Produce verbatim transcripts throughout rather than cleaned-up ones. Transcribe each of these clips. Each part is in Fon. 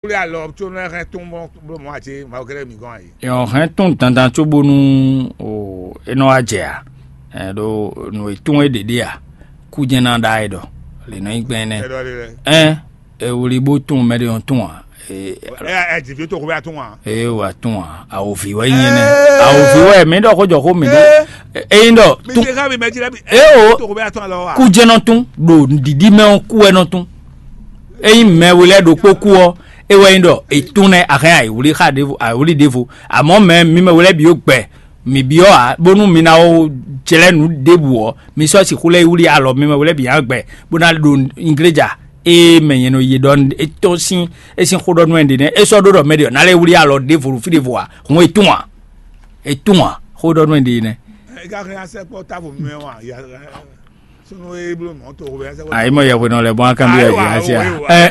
wlí alɔ có nɔ hɛn tún bɔ bló mɔ̌ ǎ cé Mawu kɛ́ɖɛ́ mǐ gɔ́n ǎ é. Yɔn hɛn tún dandan cóbónú o é nɔ wá jɛ ǎ. Ɛ ɖo nǔ e tún é ɖě ɖe ǎ. Kú jɛ́n ná ɖa é ɖɔ lě nɔ nyí gbɛn énɛ́. Ɛ ɖɔ lé lɛ. Ɛn e wlí bó tún mɛ ɖé ɔ́ tún ǎ. Ɛ ɛ jìví tó kó bɛ atún ǎ. Eye wà tún ǎ. Awòvǐ wɛ nyí énɛ́. Awòvǐ wɛ mǐ ɖɔ xó jɔ xó mǐ ɖó. Ényí ɖɔ mi tún ṣe ká mi mɛ jí lɛ́ mi. Eo. Tó kó bɛ atún alɔ wa. Kú jɛ́n nɔ tún ɖo ɖiɖi mɛ ɔ́ kú wɛ nɔ tún. Ényí mɛ we lɛ́ɛ ɖokpó kú ɔ́, é wɛ nyí ɖɔ è tún nɛ́ a hɛn ayǐwlí xa ɖěvo ayǐwlí ɖěvo. Amɔ̌ mɛ mi mɛ we lɛ́ɛ bǐ ó gbɛ mǐ byɔ́ ǎ, bónú mi ná ó jlɛ́ nǔ ɖěbǔ ɔ́, mi sɔ́ sixú lɛ́ yi wlí alɔ mi mɛ we lɛ́ɛ bǐ ná gbɛ bó ná ɖo ingléja. Ée mɛ nyɛ nɔ yi ɖɔ é tɔ́n sín é sín xó ɖɔ nú ɛ ɖě nɛ́, é sɔ́ ɖó ɖɔ mɛ ɖě ɔ́ ná lɛ́ wlí alɔ ɖěvo ɖo fí ɖěvo ǎ, hǔn è tún ǎ. È tún ǎ, xó ɖɔ nú ɛ ɖě nɛ́. Ẹ ká hɛn asɛ kpɔ távo mɛ wa ya. Sunu e blo mɔ to o ya sɛ kpɔ. Ayi mɔ yɛhwe nɔ lɛ bɔn akan bi yɛ bi asi a. Ɛ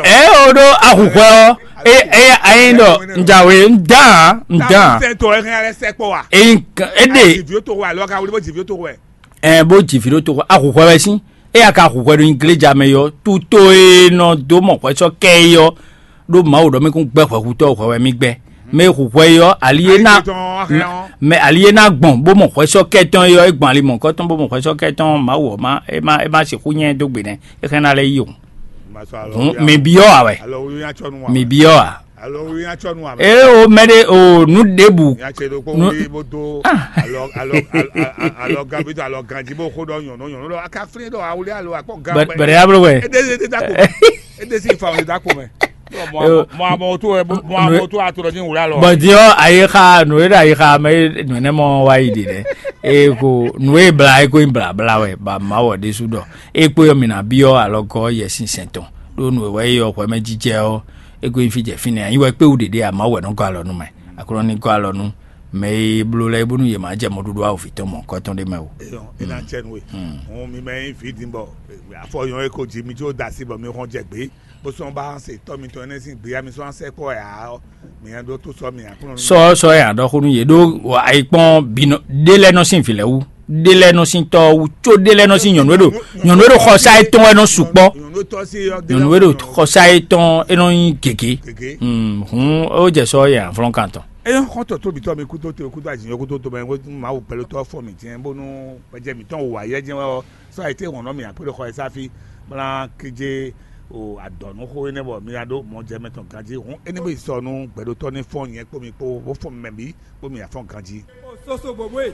ɛ o ɖo ahùhwɛ ɔ. E e ayi ɖɔ njawe ndan ndan. Sɛ to ɛ hɛn alɛ sɛ kpɔ wa. Eyi kan e de. Jivi to wa lɔ ka wuli bɔ jivi to wɛ. Ɛ bó jivi ɖo to ahùhwɛ wɛ sín. Eya ka hu hwɛ ɖo nyi gléja mɛ yɔ, tuto e nɔ dó mɔ hwɛ sɔ́ kɛ é yɔ, ɖó Mawu ɖɔ mì kún gbɛ́ hwɛhutɔ́ hwɛ wɛ mì gbɛ́. Mɛ e hu hwɛ é yɔ, ali e ná mɛ ali e ná gbɔn bó mɔ hwɛ sɔ́ kɛ tɔn é yɔ, é gbɔn ali mɔ̌kɔ tɔn bó mɔ hwɛ sɔ́ kɛ tɔn, Mawu ɔ́ má é má é má sixú nyɛ dó gbe nɛ́, é hɛn ná lɛ́ yi o. Hǔn mǐ byɔ́ ǎ wɛ. Mǐ byɔ́ ǎ. Alo wi nya tsɔ nu ame. Ee o mɛ ɖe o nu ɖebu. Nya tse ɖokpó Nu- wuli bó dó Ah. Alɔ alɔ alɔ alɔ gan bi tó alɔ ganji bó xó ɖɔ nyɔnu nyɔnu ɖɔ aka flin ɖɔ awuli alo akpɔ gan Bɛ- bɛrɛ ya blo wɛ. Ede ede da ko mɛ. Ede si fa ede da ko mɛ. Mɔ Yo. Mɔ amɔ tó ɛ mɔ amɔ tó ato ɖɔ ní wuli alɔ. Bɔn diɔ ayi xa nu ɖe ayi xa mɛ nu ne mɔ wa yi ɖi ɖe. Eko nu e bla eko yi bla bla wɛ ba ma wɔ ɖesu ɖɔ. Ekpo yɔ mina biɔ alɔ gɔ yɛ sin sɛn tɔn. Ɖo nu wɛ yɔ hwɛ mɛ jijɛ ɔ. Ego nyi fí jɛ fínɛ́, anyi wɛ kpéwú ɖěɖé ǎ, Mawu wɛ nɔ gɔ́ alɔ nú mɛ. Aklúnɔ ní gɔ́ alɔ nú mɛ e bló lɛ́ɛ bónú yě má jɛ mɔɖuɖu awǒvi tɔn mɔ̌hunkɔtɔn ɖé mɛ o. Eyɔn, é ná cɛ nú we. Hǔn mi mɛ nyí vǐ din bɔ afɔ nyɔ̌ e ko ji mi có da así bɔ mi xɔ́n jɛ gbě, bó sɔ́ ba se tɔ́ mitɔn énɛ́ sín gbéya mi sɔ́ ná sɛkpɔ́ ɛ ǎ ɔ́, mi nya ɖó tó sɔ́ mi Aklúnɔ nú. Sɔ́ sɔ́ ɛ ǎ ɖɔ xó nú yě ɖó ayikpɔ́n bǐ nɔ ɖé lɛ́ɛ nɔ sín vǐ lɛ́ɛ wú, ɖé lɛ́ɛ nɔ sín tɔ́ wú, có ɖé lɛ́ɛ nɔ sín nyɔ̌nu e ɖo nyɔ̌nu e ɖo xɔsá yetɔn wɛ nɔ sukpɔ́. Nyɔ̌nu e ɖo xɔsá yetɔn e nɔ nyí gěgé. Hǔn é wó jɛ sɔ́ yɛ avlɔ́nkan tɔn. Eye xɔ́ntɔn tó bǐ tɔ́ mi kúdó to kúdó azǐn yɔ́ kúdó to mɛ Mawu gbɛlótɔ́ fɔ mǐ jɛ́n bónú gbɛjɛ mǐtɔn wò wǎ yɛ jɛ́n wɛ ɔ́, sɔ́ ayǐtéhɔ̌n nɔ mì akwéɖoxɔ e sáfí, bó ná kíjé o adɔ̌núxó énɛ́ bɔ mi ná ɖó mɔjɛmɛ tɔn ganjí. Hǔn énɛ́ bó yi sɔ nú gbɛɖótɔ́ ní fɔ́n nyɛ kpó mi kpó, bó fɔ́n mɛ bǐ, bó mi afɔ́n ganjí. Soso bobwe.